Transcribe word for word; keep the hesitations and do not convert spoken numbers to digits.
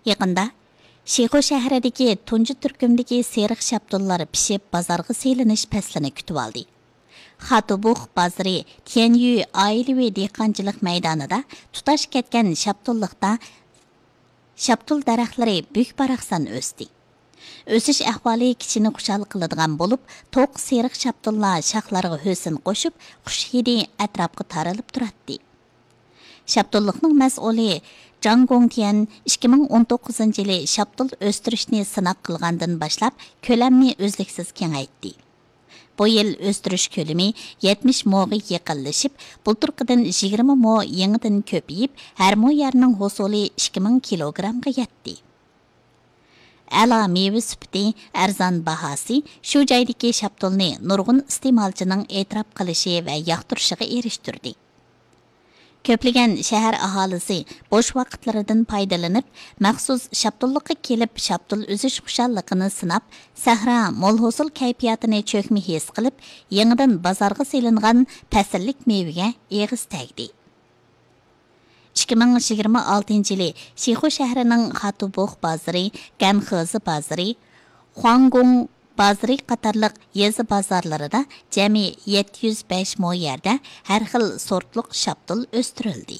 يېقىندا شىخۇ شەھىرىدىكى تۇنجى تۈركۈمدىكى سېرىق شاپتۇللار پىشىپ، بازارغا سېلىنىش پەسلىنى كۈتۈۋالدى. خاتۇبۇخ بازىرى تيەنيۈ ئائىلىۋى دېھقانچىلىق مەيدانىدا تۇتاش كەتكەن شاپتۇللۇقتا شاپتۇل دەرەخلىرى بۈك-باراقسان ئۆستى. ئۆسۈش ئەھۋالى كىشىنى خۇشال قىلىدىغان بولۇپ، توق سېرىق شاپتۇللار شاخلارغا ھۆسن قوشۇپ، خۇش ھىدى ئەتراپقا تارىلىپ تۇراتتى. شاپتۇللۇقنىڭ مەسئۇلى جاڭ گوڭتيەن ئىككى مىڭ ئون توققۇزىنچى يىلى شاپتۇل ئۆستۈرۈشنى سىناق قىلغاندىن باشلاپ، كۆلەمنى ئۈزلۈكسىز كېڭەيتتى. بۇ يىل ئۆستۈرۈش كۆلىمى يەتمىش موغا يېقىنلىشىپ، بۇلتۇرقىدىن يىگىرمە مو يېڭىدىن كۆپىيىپ، ھەر مو يەرنىڭ ھوسۇلى ئىككى مىڭ كىلوگرامغا يەتتى. ئەلا مېۋە سۈپىتى، ئەرزان باھاسى شۇ جايدىكى شاپتۇلنى نۇرغۇن ئىستېمالچىنىڭ ئېتىراپ قىلىشى ۋە ياقتۇرۇشىغا ئېرىشتۈردى. كۆپلىگەن شەھەر ئاھالىسى بوش ۋاقىتلىرىدىن پايدىلىنىپ، مەخسۇس شاپتۇللۇققا كېلىپ، شاپتۇل ئۈزۈش خۇشاللىقىنى سىناپ، سەھرا مول ھوسۇل كەيپىياتىنى چۆكمە ھېس قىلىپ، يېڭىدىن بازارغا سېلىنغان پەسىللىك مېۋىگە ئېغىز تەگدى. ئىككى مىڭ يىگىرمە ئالتىنچى يىلى شىخۇ شەھىرىنىڭ خاتۇبوخ بازىرى، گەنخېزى بازىرى، خۇاڭگوڭ بازىرى قاتارلىق يېزا بازارلىرىدا جەمئىي يەتتە يۈز بەش مو يەردە ھەر خىل سورتلۇق شاپتۇل ئۆستۈرۈلدى.